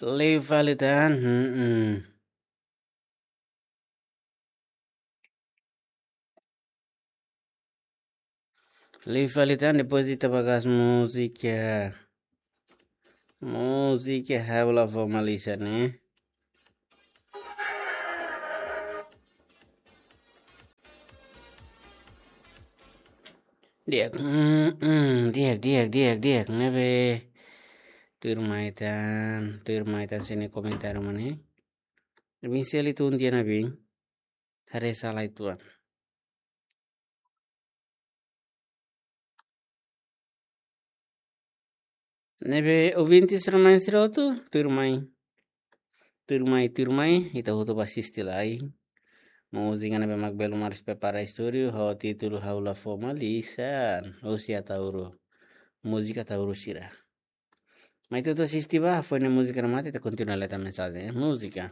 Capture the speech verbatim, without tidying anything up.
Liu fali tan, hmm, hmm. Liu fali tan, depois ita bá kas múzika. Múzika ha'u la fó malisan, ne'e? Di'ak, mm, mm, di'ak, di'ak, di'ak, di'ak, ne'ebé. Tuirmai tan, tuirmai tan sira-nia komentáriu mak ne'e. Michele tun dia na bin. Haree sala uitoan. Ne'ebé ouvinte sira-na'in sira hotu, tuirmai. Tuirmai, tuirmai, ita hotu bá asiste lai. Múzika ne'ebé mak Belo Mares prepara estúdiu, ho títulu Ha'u La Fó Malisan, husi Ataúro. Múzika Ataúro sira. Mai ita hotu asiste bá, foin ne'e múzika remata, ita kontinua leta mensajen, eh, múzika.